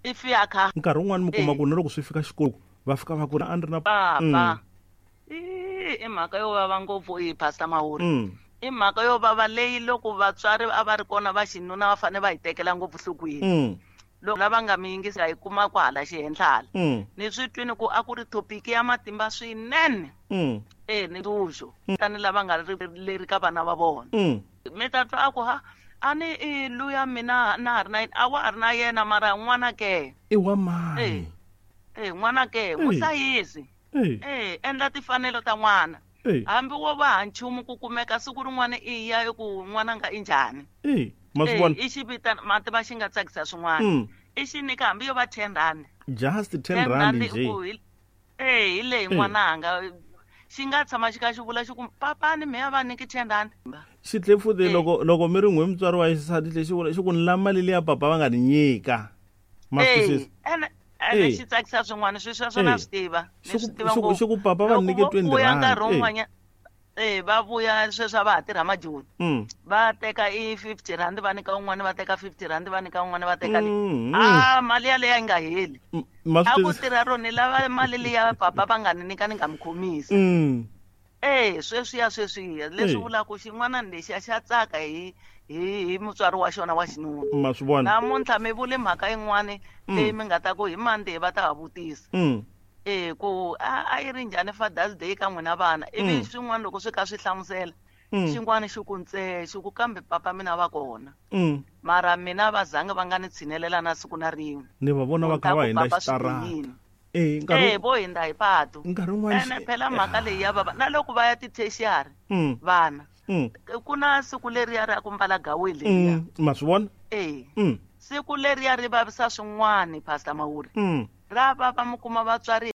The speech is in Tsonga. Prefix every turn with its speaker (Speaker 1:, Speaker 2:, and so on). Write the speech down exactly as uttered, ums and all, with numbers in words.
Speaker 1: I fika
Speaker 2: nkarhi wun'wani mi kuma
Speaker 1: Eh.
Speaker 2: ku na loko swi fika xikolo va fika va ku a ni ri na
Speaker 1: papa i i mhaka yo vava ngopfu i pastor Mahuri
Speaker 2: Mm.
Speaker 1: i mhaka yo vava leyi loko vatswari a va ri kona va xinuna va fanele va yi tekela ngopfu nhlokweni
Speaker 2: Mm.
Speaker 1: loko lava nga mi yingisa hi kuma kwahala xihenhla
Speaker 2: Mm.
Speaker 1: ni swi twini ku a ku ri topic ya matimba swinene
Speaker 2: Mm.
Speaker 1: e ni ntshuxo tani lava nga ri leri ka vana va vona
Speaker 2: Mm.
Speaker 1: mi ta twa a ku ha a ni i luya mina na ha ri na yena a wa ha ri na yena mara n'wana ke
Speaker 2: I wa mani
Speaker 1: e n'wana ke n'wi
Speaker 2: Eh.
Speaker 1: hlayisi
Speaker 2: Eh.
Speaker 1: e endla timfanelo ta n'wana
Speaker 2: Eh.
Speaker 1: hambi wo va ha nchumu ku kumeka siku rin'wana i ya ku n'wana nga i njhani
Speaker 2: Eh. Ma swi
Speaker 1: Eh,
Speaker 2: vona
Speaker 1: i xi vitana mati va xi nga tsakisa swin'wana
Speaker 2: Mm.
Speaker 1: i xi nyika hambi yo va ten rand
Speaker 2: just ten
Speaker 1: ten
Speaker 2: rand
Speaker 1: rand
Speaker 2: nje
Speaker 1: ku hi eh hi leyi
Speaker 2: Eh.
Speaker 1: n'wananga xi nga tshama xi kha xi vula xi ku papani mi ya va nyiki ten rand
Speaker 2: xi tle futhi
Speaker 1: Eh.
Speaker 2: loko loko mi ri n'we mutswari wa xisati lexi vula xi ku ni la mali liya papa va nga ni nyika ma swi
Speaker 1: Eh,
Speaker 2: twisisa
Speaker 1: ene ene
Speaker 2: Eh.
Speaker 1: xi tsakisa swin'wana swi sweswo na
Speaker 2: Eh.
Speaker 1: swi tiva ni
Speaker 2: Xi ku-
Speaker 1: swi tiva
Speaker 2: xi ku-
Speaker 1: ngopfu
Speaker 2: xi ku papa va
Speaker 1: Loko
Speaker 2: nyike
Speaker 1: vo
Speaker 2: twenty
Speaker 1: vuya
Speaker 2: rand
Speaker 1: nkarhi
Speaker 2: eh.
Speaker 1: wun'wanya eh va vuya sweswi a va ha tirha majoni
Speaker 2: Mm.
Speaker 1: va teka i fifty rand va nyika un'wana va teka fifty rand va nyika un'wana va teka leyi
Speaker 2: Mm.
Speaker 1: a mali yaleyo a yi nga heli
Speaker 2: Mm, ma
Speaker 1: a
Speaker 2: swi
Speaker 1: ku
Speaker 2: twisisa
Speaker 1: tirha rona lava mali liya papa va nga ni nyika ni nga mi khomisa
Speaker 2: Mm.
Speaker 1: eh sweswiya sweswiya leswi
Speaker 2: Eh.
Speaker 1: vulaka xin'wana lexiya xa tsaka hi hi hi mutswari wa xona wa xinuna
Speaker 2: ma swi vona
Speaker 1: namuntlha mi vule mhaka yin'wani leyi mi nga ta ku hi Monday va ta ha vutisa
Speaker 2: Mm.
Speaker 1: eh ku a a yi ri njhani Father's Day ka n'wina vana ivi
Speaker 2: Mm.
Speaker 1: swin'wana loko swi kha swi hlamusela
Speaker 2: Mm.
Speaker 1: xin'wana xi ku ntse xi ku kambe papa mina va kona
Speaker 2: Mm.
Speaker 1: mara mina va zangi va nga ni tshinelela na siku na rin'we
Speaker 2: ni va vona va
Speaker 1: Ku ta
Speaker 2: kha va
Speaker 1: ku
Speaker 2: hindza
Speaker 1: papa swi
Speaker 2: xitarata
Speaker 1: bihile.
Speaker 2: eh nkarhi
Speaker 1: eh vo hindza hi patu
Speaker 2: nkarhi wun'wana
Speaker 1: ene phela mhaka leyi ya vava na loko va ya ti-tertiary
Speaker 2: Mm.
Speaker 1: vana
Speaker 2: Mm.
Speaker 1: ku na siku leriya ra ku mbala gaweni leriya
Speaker 2: Mm. ma swi vona
Speaker 1: eh
Speaker 2: Mm.
Speaker 1: siku leriya ri vavisa swin'wani pastor Mawuri
Speaker 2: Mm.
Speaker 1: ra vava mi kuma vatswari